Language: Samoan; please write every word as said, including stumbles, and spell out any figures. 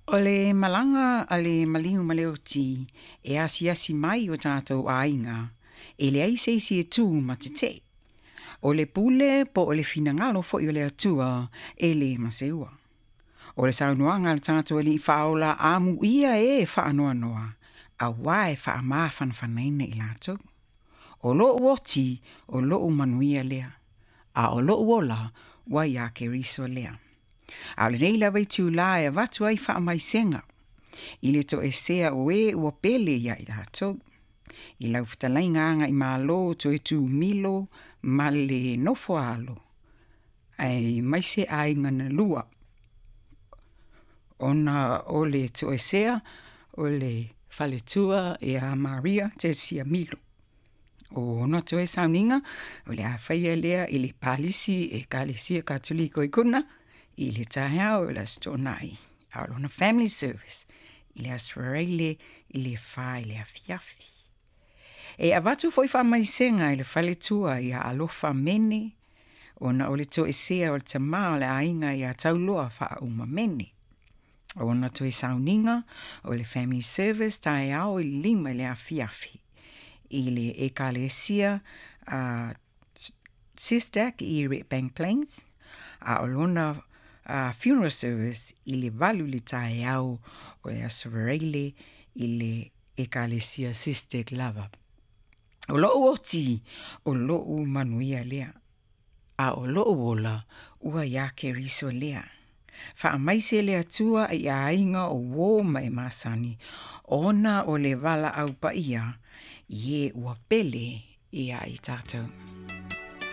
O le malaga a le maliu ma le oti e asiasi mai i o tatou aiga, e leai se isi e tu ma tete'e. O le pule po o le finagalo foi o le Atua e lē maseua. O le saunoaga a le tatou Alii Faaola amuia e faanoanoa, auā e faamafanafanaina i latou. O lo'u oti, o lo'u manuia lea, a o lo'u ola ua iā Keriso lea. A o lenei lava itulā e avatu ai faamaisega i le toesea o e ua pele ia i latou. I lau fetalaiga Agaimalo Toetumilo ma le nofo a alo, aemaise aiga na lua, ona o le toesea o le faletua ia Maria Tesia Milo. O ona toe sauniga o le a faia lea i le Palisi Ekalesia Katoliko i Kona i le taeao o le Aso Toonai, a o lona family service i le Aso Faraile i le fa i le afiafi. E avatu foi faamaisega i le faletua ia Alofa Mene, ona o le toesea o le tamā o le aiga ia Tauloa Faauma Mene. O ona toe sauniga o le family service taeao i le lima i le afiafi i le Ekalesia uh, SISTAC i Redbank Plains, a o lona uh, funeral service i le valu i le taeao o le Aso Faraile i le Ekalesia SISTAC lava. O lo'u oti, o lo'u manuia lea, a o lo'u ola ua iā Keriso lea. Faamaise le Atua i aiga o uō ma e masani, ona o le valaau paia i e ua pele ia i tatou.